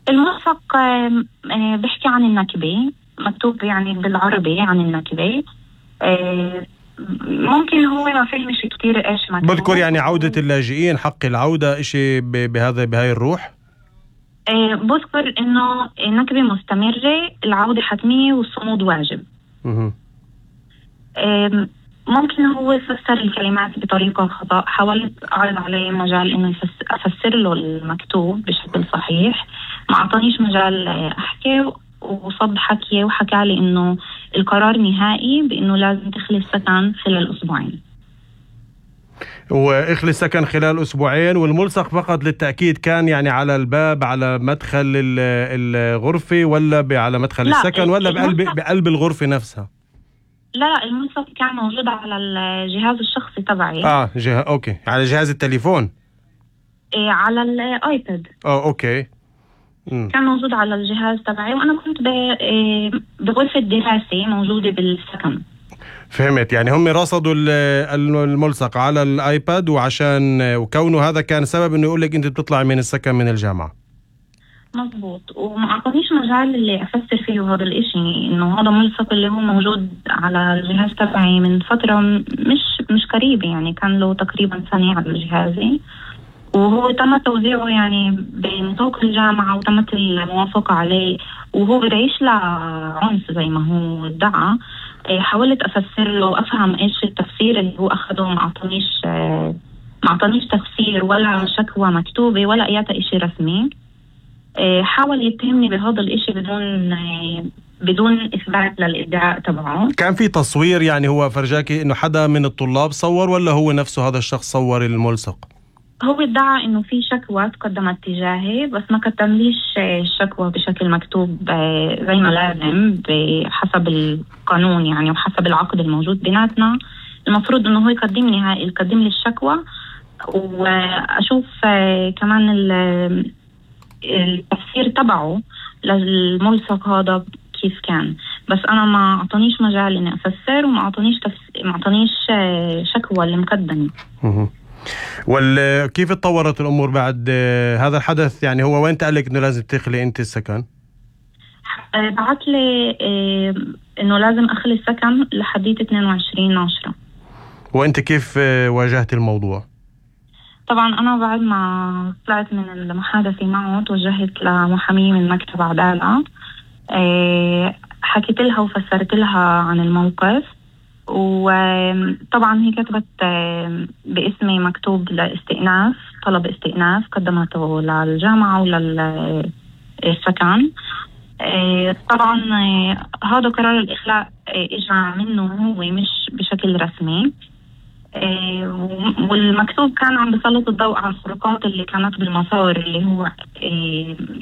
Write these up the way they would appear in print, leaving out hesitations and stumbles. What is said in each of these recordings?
الملصق بيحكي عن النكبة، مكتوب يعني بالعربي عن النكبة. ممكن هو ما فهمش كتير ايش مكتوب. بذكر يعني عودة اللاجئين، حق العودة، اشي بهاي الروح. بذكر انه النكبة مستمرة، العودة حتمية والصمود واجب. ممكن هو يفسر الكلمات بطريقة خطأ. حاولت أعرض عليه مجال إنه أفسر له المكتوب بشكل صحيح، ما أعطانيش مجال أحكي، وصد حكي وحكى لي إنه القرار نهائي بإنه لازم تخلي السكن خلال أسبوعين. وإخلي السكن خلال أسبوعين، والملصق فقط للتأكيد كان يعني على الباب، على مدخل الغرفة، ولا على مدخل السكن، ولا بقلب الغرفة نفسها؟ لا، الملصق كان موجود على الجهاز الشخصي تبعي. أوكي، على جهاز التليفون. على الآيباد. أوكي. كان موجود على الجهاز تبعي، وأنا كنت بغرفة دراسة موجودة بالسكن. فهمت. يعني هم رصدوا الملصق على الآيباد، وكونه هذا كان سبب إنه يقولك أنت بتطلع من السكن من الجامعة. مظبوط. وما أعطانيش مجال اللي أفسر فيه هذا الإشي، إنه هذا ملصق اللي هو موجود على الجهاز تبعي من فترة مش قريبة، يعني كان له تقريبا سنة على جهازي، وهو تم توزيعه يعني بنطاق الجامعة وتمت الموافقة عليه، وهو بيعيش لعنف زي ما هو ادعى. حاولت أفسر له، أفهم إيش التفسير اللي هو أخده. ما أعطانيش تفسير ولا شكوى مكتوبة ولا أي إشي رسمي. حاول يتهمني بهذا الإشي بدون إثبات للإدعاء تبعه. كان في تصوير، يعني هو فرجاكي إنه حدا من الطلاب صور، ولا هو نفسه هذا الشخص صور الملصق؟ هو ادعى إنه في شكوى تقدمت تجاهي، بس ما قدمليش الشكوى بشكل مكتوب زي ما لازم بحسب القانون يعني، وحسب العقد الموجود بيناتنا. المفروض إنه هو يقدم لي الشكوى، وأشوف كمان التفسير تبعه للملصق هذا كيف كان. بس أنا ما أعطانيش مجال إني أفسر، وما أعطانيش شكوى اللي مقدمة. كيف اتطورت الأمور بعد هذا الحدث؟ يعني هو وين قال لك إنه لازم تخلي أنت السكن؟ بعت لي إنه لازم أخلي السكن لحديت 22/10. وأنت كيف واجهت الموضوع؟ طبعا أنا بعد ما طلعت من المحادثة معه توجهت لمحامية من مكتب عدالة. حكيت لها وفسرت لها عن الموقف، وطبعا هي كتبت باسمي مكتوب لاستئناف، طلب استئناف قدمته للجامعة وللسكن. طبعا هذا قرار الإخلاء إجا منه هو مش بشكل رسمي. والمكتوب كان عم بسلط الضوء على الخروقات اللي كانت بالمسار اللي هو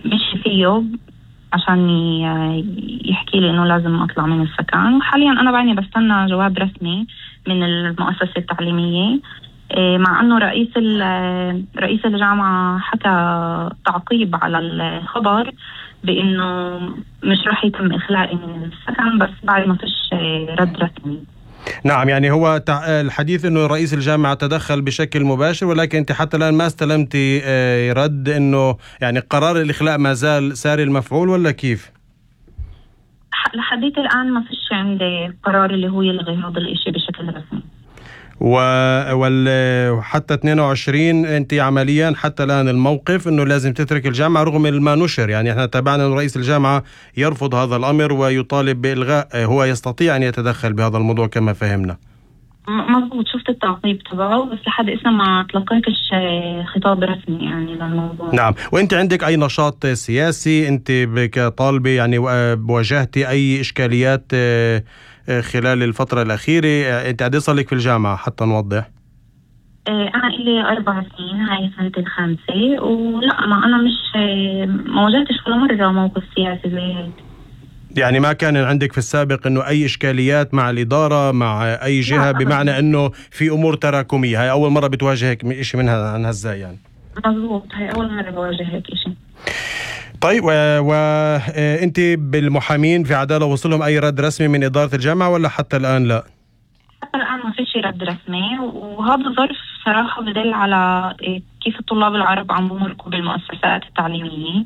مشي فيه عشان يحكي لي إنه لازم أطلع من السكن. وحاليا أنا بعدني بستنى جواب رسمي من المؤسسة التعليمية، مع أنه رئيس الجامعة حكى تعقيب على الخبر بأنه مش رح يتم إخلائي من السكن، بس بعد ما فيش رد رسمي. نعم، يعني هو الحديث انه رئيس الجامعة تدخل بشكل مباشر، ولكن انت حتى الان ما استلمتي رد انه يعني قرار الاخلاء ما زال ساري المفعول، ولا كيف؟ لحديت الان ما فيش عندي قرار اللي هو يلغي هذا الاشي بشكل رسمي. وحتى 22 انت عمليا حتى الان الموقف انه لازم تترك الجامعة رغم ما نشر. يعني احنا تابعنا انه رئيس الجامعة يرفض هذا الامر ويطالب بإلغاء، هو يستطيع ان يتدخل بهذا الموضوع كما فهمنا. مضبوط، شفت التعقيب تبعه، بس لحد اسمه ما تلقيتش خطاب رسمي يعني للموضوع. نعم. وانت عندك اي نشاط سياسي؟ انت كطالبة يعني واجهتي اي اشكاليات خلال الفترة الأخيرة؟ أنت قد صار لك في الجامعة حتى نوضح؟ أنا إلي 4 سنين، هاي سنة 5، ولا ما أنا ما واجهتش ولا مرة موقف سياسي زي هيك. يعني ما كان عندك في السابق إنه أي إشكاليات مع الإدارة، مع أي جهة، بمعنى إنه في أمور تراكمية؟ هاي أول مرة بتواجهك إشي منها عن هالزاي يعني؟ مظبوط، هاي أول مرة بواجه هيك إشي. طيب، وانت بالمحامين في عدالة وصلهم اي رد رسمي من ادارة الجامعة ولا حتى الان لا؟ حتى الان ما فيش رد رسمي، وهذا الظرف صراحة بدل على كيف الطلاب العرب عم بمرقوا بالمؤسسات التعليمية.